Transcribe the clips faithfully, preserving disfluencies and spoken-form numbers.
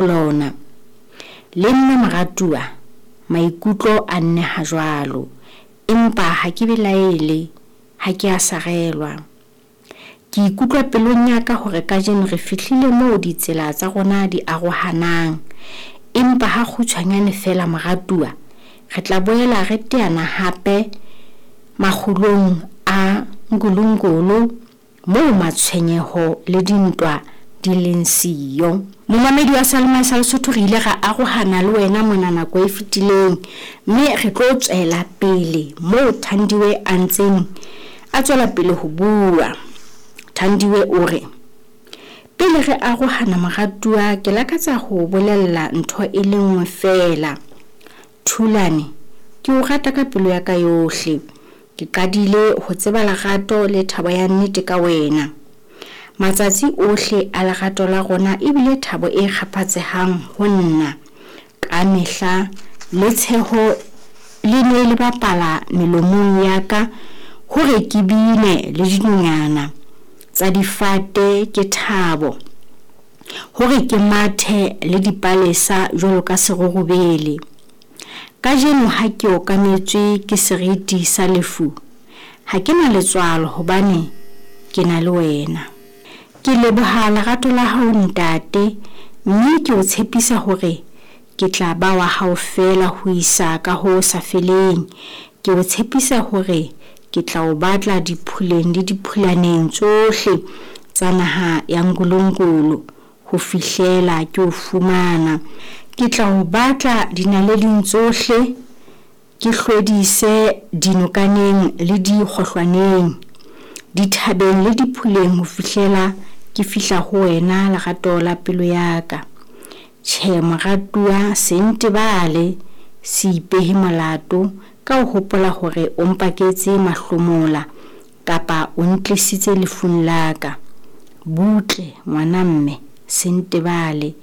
Lona. Le nna moratuwa maikutlo a nneha jwalo. Empa ha ke belaele, ha ke a sarelwa. Ke ikutlwa pelong ya ka hore kajeno re fihlile moo ditsela tsa rona di arohanang. Empa ha kgutshwanyane feela moratuwa, re tla boela re teana hape makgulong a Nkulunkulu moo matshwenyeho le dintwa di leng siyo. Momamedi wa Seyalemoya sa Lesotho, re ile ra arohana le wena mona nako e fetileng, mme re tlo tswela pele moo Thandiwe a ntseng a tswela pele ho bua. Thandiwe o re, pele re arohana moratuwa, ke lakatsa ho bolella ntho e le nngwe feela. Thulane, ke o rata ka pelo ya ka yohle. Ke qadile ho tseba lerato le thabo ya nnete ka wena. Matsatsi ohle a lerato la rona ebile thabo e kgaphatsehang ho nna. Ka mehla le tsheho le ne le bapala melomong ya ka hore ke bine le dinonyana tsa difate ke thabo, hore ke mathe le dipalesa jwalo ka serurubele. Kajeno ha ke okametswe ke seriti sa lefu, ha ke na letswalo hobane ke na le wena. Ke leboha lerato la hao ntate, mme ke o tshepisa hore ke tla ba wa hao feela ho isa ka ho sa feleng. Ke o tshepisa hore ke tla o batla diphuleng le diphulaneng tsohle tsa naha ya Nkulunkulu ho fihlela ke o fumana. Ke tla o batla dinaleding tsohle, ke hlwedise dinokaneng le dikgohlwaneng, dithabeng le diphuleng ho fihlela ke fihla ho wena lerato la pelo ya ka. Tjhe moratuwa, se ntebale, se ipehe molato ka ho hopola hore o mpaketse mahlomola kapa o ntlisitse lefung la ka. Butle ngwana mme, se ntebale.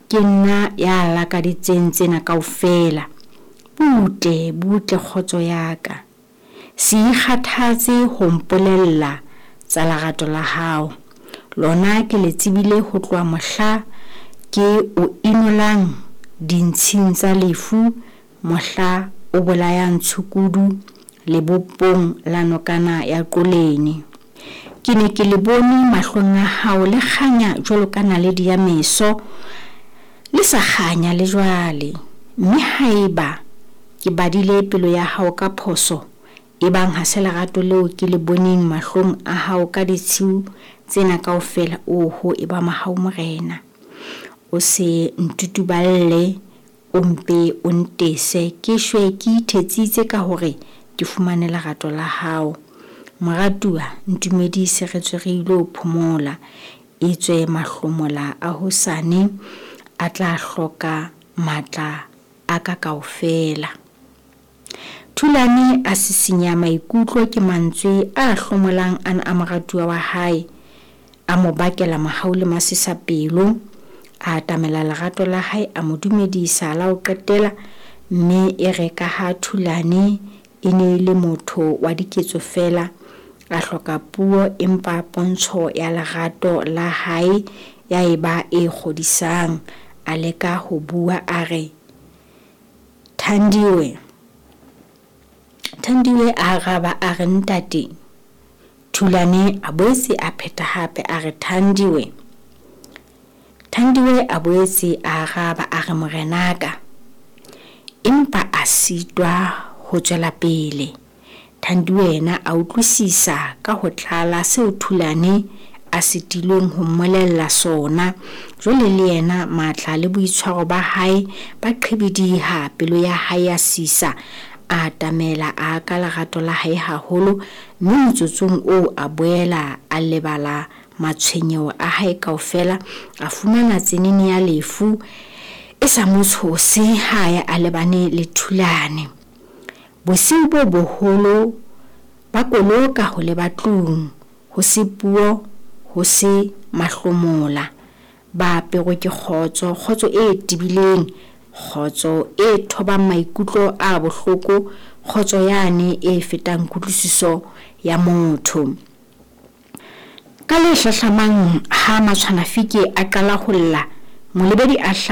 Ke nna ya lakaditseng tsena kaofela. Butle, butle kgotso ya ka. Se ikgathatse ho mpolella tsa lerato la hao. Lona ke le tsebile ho tloha mohla ke o inolang dintshing tsa lefu, mohla o bolayang tshukudu lebopong la nokana ya Qoleni. Ke ne ke le bone mahlong a hao le kganya jwalo ka naledi ya meso, le sa kganya le jwale. Mme haeba ke badile pelo ya hao ka phoso, ebang ha se lerato leo ke le boneng mahlong a hao ka ditshiu tsena kaofela, oho e ba mohau morena. O se ntutuballe, o mpe o ntese ke shwe ke ithetsitse ka hore ke fumane lerato la hao. Moratuwa, ntumedise re tswe re ilo phomola, etswe mahlomola a hosane a tla hloka matla a ka kaofela. Thulane a sisinya maikutlo ke mantswe a hlomolang ana a moratuwa wa hae, a mo bakela mohau le masisapelo. A atamela lerato la hae, a mo dumedisa la ho qetela, mme e re ka ha Thulane e ne e le motho wa diketso feela, a hloka puo, empa pontsho ya lerato la hae ya eba e kgodisang. A leka ho bua a re, Thandiwe. Thandiwe a araba a re, ntate. Thulane a boetse a pheta hape a re, Thandiwe. Thandiwe a boetse a araba a re, morenaka. Empa a sitwa ho tswela pele. Thandiwe yena a utlwisisa ka ho tlala seo Thulane a sitilweng ho mmolella sona. Jwale le yena matla le boitshwaro ba hae ba qhibidiha, pelo ya hae ya sisa. A atamela a ka lerato la hae haholo, mme motsotsong oo a boela a lebala matshwenyeho a hae kaofela. A fumana tsenene ya lefu e sa mo tshose ha ya a lebane le Thulane. Bosiu bo boholo ba koloka ho leba tlung, ho se puo, ho se mahlomola. Ba aperwe ke kgotso, kgotso e tebileng, kgotso e thobang maikutlo a bohloko, kgotso yane e fetang kutlwisiso ya motho. Ka le hlahlamang ha Matshwanafike a qala ho lla, molebedi a hla